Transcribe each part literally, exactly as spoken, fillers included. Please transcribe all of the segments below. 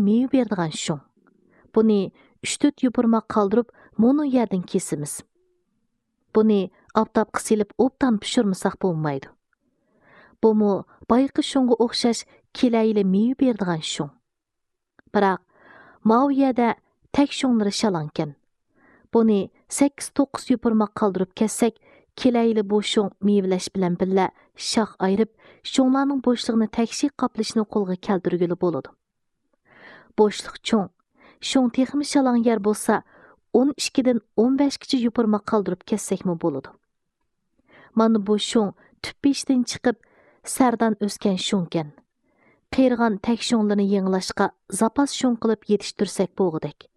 مېۋە بېرىدىغان شۇڭ. بۇنى ئۈچ تۆت يوپۇرماق قالدۇرۇپ، مۇنۇ يەردىن كېسىمىز. بۇنى ئاپتاپقا سېلىپ ئوبدان پىشۇرمىساق بولمايدۇ. بۇمۇ بايىقى شۇڭغا ئوخشاش كېلەيلى مېۋە بېرىدىغان شۇڭ. بىراق، ماۋۇ يەردە تەك شۇڭلىرى شالاڭكەن. بۇنى سەككىز توققۇز يوپۇرماق قالدۇرۇپ كەتسەك، كېلەيلى بۇ شۇڭ مېۋىلەش بىلەن بىللە شاخ ئايرىپ، شۇڭلارنىڭ بوشلۇقىنى تەكشى قاپلىشىنى قولغا كەلتۈرگىلى بولىدۇ. بوشلۇق چوڭ، شۇڭ تېخىمۇ شالاڭ يەر بولسا، ئون ئىككىدىن ئون بەشكىچە يوپۇرماق قالدۇرۇپ كەتسەكمۇ بولىدۇ. مانا بۇ شۇڭ تۈپ بېشىدىن چىقىپ، سەردان ئۆسكەن شۇڭكەن. قېرىغان تەك شۇڭلىرىنى يېڭىلاشقا زاپاس شۇڭ قىلىپ يېتىشتۈرسەك بولغۇدەك.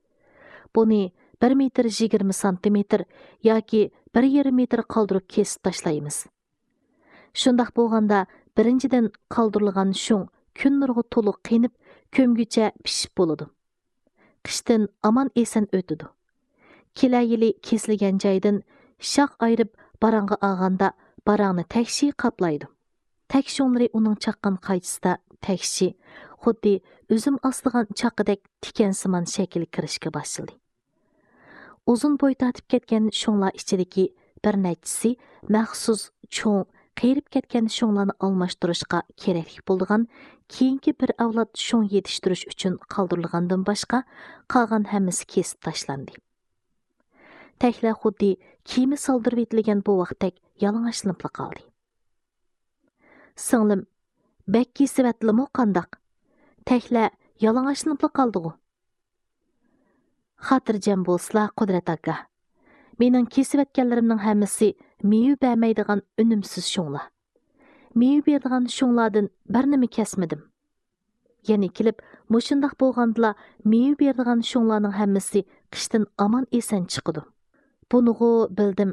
بۇنى بىر مېتىر يىگىرمە سانتىمېتىر ياكى بىر يېرىم مېتىر قالدۇرۇپ كېسىپ تاشلايمىز. شۇنداق بولغاندا، بىرىنچىدىن، قالدۇرۇلغان شۇڭ كۈن نۇرىغا تولۇق قېنىپ، كۆمگۈچە پىشىپ بولىدۇ. قىشتىن ئامان-ئېسەن ئۆتىدۇ. كېلەر يىلى كېسىلگەن جايدىن شاخ ئايرىپ باراڭغا ئالغاندا، باراڭنى تەكشى قاپلايدۇ. تەك شۇڭلىرى ئۇنىڭ چاققان قايچىسىدا تەكشى، خۇددى ئۈزۈم ئاسىدىغان چاققىدەك تىكەنسىمان شەكىلگە كىرىشكە باشلىدى. ئۇزۇن بوي تارتىپ كەتكەن شۇڭلار ئىچىدىكى بىر نەچچىسى مەخسۇس چوڭ، قېرىپ كەتكەن شۇڭلارنى ئالماشتۇرۇشقا كېرەكلىك بولىدىغان كېيىنكى بىر ئەۋلاد شۇڭ يېتىشتۈرۈش ئۈچۈن قالدۇرۇلغاندىن باشقا، قالغان ھەممىسى كېسىپ تاشلاندى. تەكلەر خۇددى كېمە سالدۇرۇۋېتىلگەن بوۋاقتەك يالىڭاچلىنىپلا قالدى. سىڭلىم، بەك كېسىۋەتتىلىمۇ قانداق؟ تەكلەر يالىڭاچلىنىپلا قالدىغۇ. خاتىرجەم بولسىلا، قۇدرەت ئاكا. مېنىڭ كېسىۋەتكەنلىرىمنىڭ ھەممىسى مېۋە بەرمەيدىغان ئۈنۈمسىز شۇڭلار. مېۋە بېرىدىغان شۇڭلاردىن بىرنىمۇ كەسمىدىم. يەنە كېلىپ، مۇشۇنداق بولغاندىلا، مېۋە بېرىدىغان شۇڭلارنىڭ ھەممىسى قىشتىن ئامان-ئېسەن چىقىدۇ. بۇنىغۇ بىلدىم.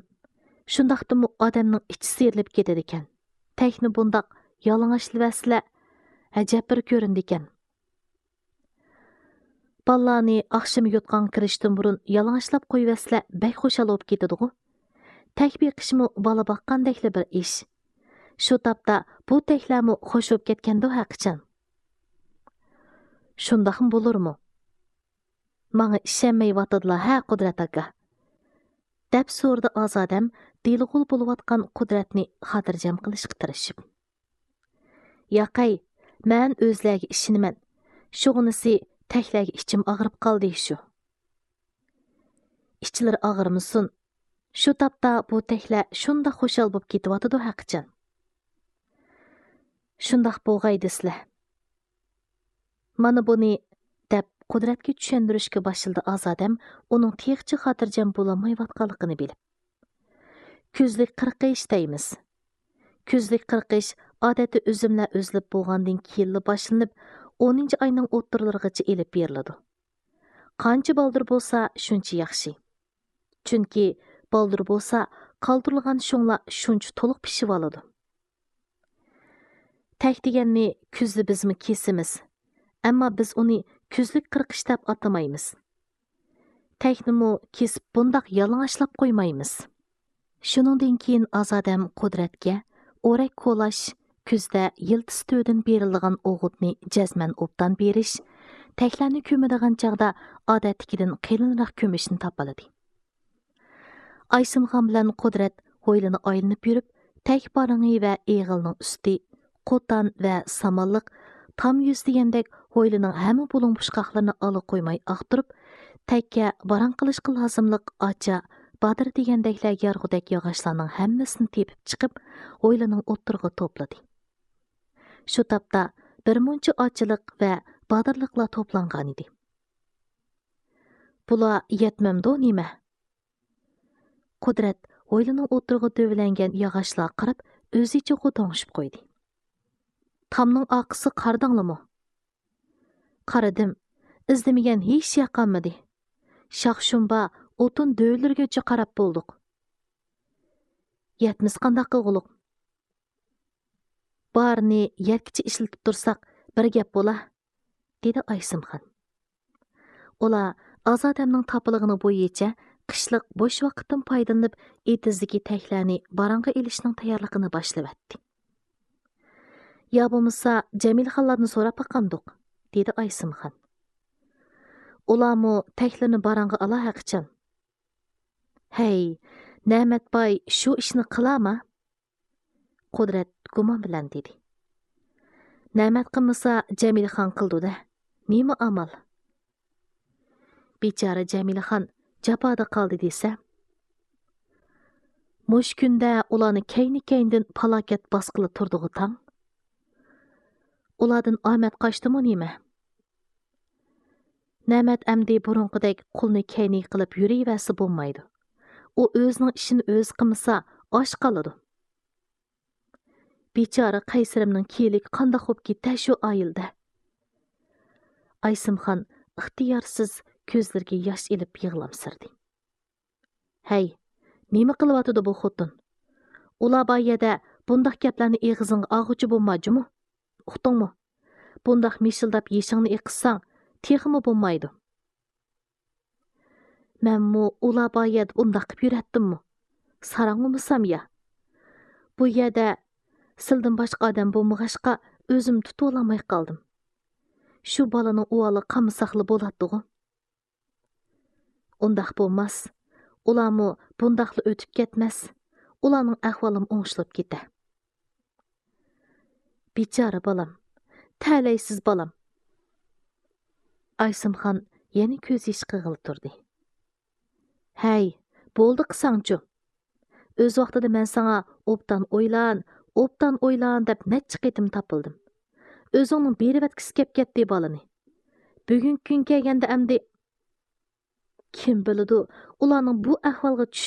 شۇنداقتىمۇ ئادەمنىڭ ئىچى سىيرىلىپ كېتىدىكەن. تەكنى بۇنداق يالىڭاچلىۋەتسىلە، ئەجەب بىر كۆرۈنىدىكەن. بالىلارنى ئاخشىمى يوتقانغا كىرىشتىن بۇرۇن يالىڭاچلاپ قويۇۋەتسىلە، بەك خۇشال بولۇپ كېتىدىغۇ. تەك بېقىشمۇ بالا باققاندەكلا بىر ئىش. شۇ تاپتا بۇ تەكلەرمۇ خوش بولۇپ كەتكەندۇ ھەقىچان. شۇنداقمۇ بولۇرمۇ؟ ماڭا ئىشەنمەيۋاتىدىلا ھە، قۇدرەت ئاكا؟ دەپ سورىدى ئازادەم دىلىغۇل بولۇۋاتقان قۇدرەتنى خاتىرجەم قىلىشقا تىرىشىپ. ياقەي، مەن ئۆزلەرگە ئىشىنىمەن. شۇغىنىسى تەكلەرگە ئىچىم ئاغرىپ قالدى شۇ. ئىچلىرى ئاغرىمىسۇن. شۇ تاپتا بۇ تەكلەر شۇنداق خۇشال بولۇپ كېتىۋاتىدۇ ھەقىچان. شۇنداق بولغاي دېسىلە. مانا بۇنى، دەپ قۇدرەتكە چۈشەندۈرۈشكە باشلىدى ئازادەم، ئۇنىڭ تېخىچە خاتىرجەم بولالمايۋاتقانلىقىنى بىلىپ. كۈزلۈك قىرقىش دەيمىز. كۈزلۈك قىرقىش ئادەتتە ئۈزۈملەر ئۈزۈلۈپ بولغاندىن كېيىنلا باشلىنىپ، ئونىنچى ئاينىڭ ئوتتۇرىلىرىغىچە ئېلىپ بېرىلىدۇ. قانچە بالدۇر بولسا، شۇنچە ياخشى. چۈنكى بالدۇر بولسا، قالدۇرۇلغان شۇڭلار شۇنچە تولۇق پىشىۋالىدۇ. تەك دېگەننى كۈزدە بىزمۇ كېسىمىز. ئەمما بىز ئۇنى كۈزلۈك قىرقىش دەپ ئاتىمايمىز. تەكنىمۇ كېسىپ بۇنداق يالىڭاچلاپ قويمايمىز. شۇنىڭدىن كېيىن ئازادەم قۇدرەتكە ئورەك كولاش، كۈزدە يىلتىز تۈۋىدىن بېرىلىدىغان ئوغۇتنى جەزمەن ئوبدان بېرىش، تەكلەرنى كۆمىدىغان چاغدا ئادەتتىكىدىن قېلىنراق كۆمۈشنى تاپىلىدى. ئايسىمخان بىلەن قۇدرەت ھويلىنى ئايلىنىپ يۈرۈپ، تەك بارىڭى ۋە ئېغىلنىڭ ئۈستى، قوتان ۋە سامانلىق، تام يۈز دېگەندەك ھويلىنىڭ ھەممە بۇلۇڭ-بۇچقاقلىرىنى ئالا قويماي ئاختۇرۇپ، تەككە باراڭ قىلىشقا لازىملىق ئاچا، بادىرا دېگەندەكلەر يارغۇدەك ياغاچلارنىڭ ھەممىسىنى تېپىپ چىقىپ، ھويلىنىڭ ئوتتۇرىغا توپلىدى. شۇ تاپتا بىر مۇنچە ئاچىلىق ۋە بادىرلىقلار توپلانغانىدى. بۇلار يەتمەمدۇ نېمە؟ قۇدرەت ھويلىنىڭ ئوتتۇرىغا دۆۋىلەنگەن ياغاچلارغا قاراپ ئۆزىچە غوداڭشىپ قويدى. تامنىڭ ئارقىسىغا قارىدىڭلىمۇ؟ قارىدىم. ئىزدىمىگەن ھېچ يەر قالمىدى. شاخ-شۇم بار ئوتۇن دۆۋىلىرىگىچە قاراپ بولدۇق. يەتمىسە قانداق قىلغۇلۇق؟ بارىنى يەتكىچە ئىشلىتىپ تۇرساق بىر گەپ بولا، دېدى ئايسىمخان. ئۇلار ئازادەمنىڭ تاپىلىغىنى بويىچە قىشلىق بوش ۋاقىتتىن پايدىلىنىپ، ئېتىزدىكى تەكلەرنى باراڭغا ئېلىشنىڭ تەييارلىقىنى باشلىۋەتتى. يا بولمىسا جەمىلخانلاردىن سوراپ باقامدۇق؟ دېدى ئايسىمخان. ئۇلارمۇ تەكلىرنى باراڭغا ئالا ھەقىچان. ھەي، نەمەتباي شۇ ئىشنى قىلارما؟ قۇدرەت گۇمان بىلەن دېدى. نەمەت قىلمىسا، جەمىلىخان قىلىدۇ-دە. نېمە ئامال؟ بىچارە جەمىلىخان جاپادا قالدى دېسە. مۇشۇ كۈندە ئۇلارنى كەينى-كەينىدىن پالاكەت باسقىلى تۇردىغۇ تاڭ. ئۇلاردىن ئامەت قاچتىمۇ نېمە؟ نەمەت ئەمدى بۇرۇنقىدەك قولىنى كەينىگە قىلىپ يۈرۈۋەرسە بولمايدۇ. ئۇ ئۆزىنىڭ ئىشىنى ئۆزى قىلمىسا، ئاچ قالىدۇ. بىچارە قەيسىرىمنىڭ كېيىنلىكى قانداق بوپ كېتە شۇ ئائىلىدە؟ ئايسىمخان ئىختىيارسىز كۆزلىرىگە ياش ئېلىپ يىغلامسىرىدى. ھەي، نېمە قىلىۋاتىدۇ بۇ خوتۇن؟ ئۇلار بار يەردە بۇنداق گەپلەرنى ئېغىزىڭغا ئالغۇچى بولما جۇمۇ. ئۇقتۇڭمۇ؟ بۇنداق مىشىلداپ يېشىڭنى ئېقىتساڭ، تېخىمۇ بولمايدۇ. مەنمۇ ئۇلار بار يەردە ئۇنداق قىپ يۈرەتتىممۇ؟ ساراڭ بولمىسام يا. بۇ يەردە سىلدىن باشقا ئادەم بولمىغاچقا، ئۆزۈم تۇتۇۋالالماي قالدىم. شۇ بالىنىڭ ئۇۋالىغا قالمىساقلا بولاتتىغۇ. ئۇنداق بولماس. ئۇلارمۇ بۇنداقلا ئۆتۈپ كەتمەس. ئۇلارنىڭ ئەھۋالىمۇ ئوڭشىلىپ كېتە. بىچارە بالام، تەلەيسىز بالام. ئايسىمخان يەنە كۆز يېشى قىغىلى تۇردى. ھەي، بولدى قىساڭچۇ. ئۆز ۋاقتىدا مەن ساڭا ئوبدان ئويلان، ئوبدان ئويلان دەپ نەچچە قېتىم تاپىلدىم. ئۆزۈڭنىڭ بېرىۋەتكۈسى كەپ كەتتى بالىنى. بۈگۈنكى كۈن كەلگەندە ئەمدى. كىم بىلىدۇ، ئۇلارنىڭ بۇ ئەھۋالغا چۈش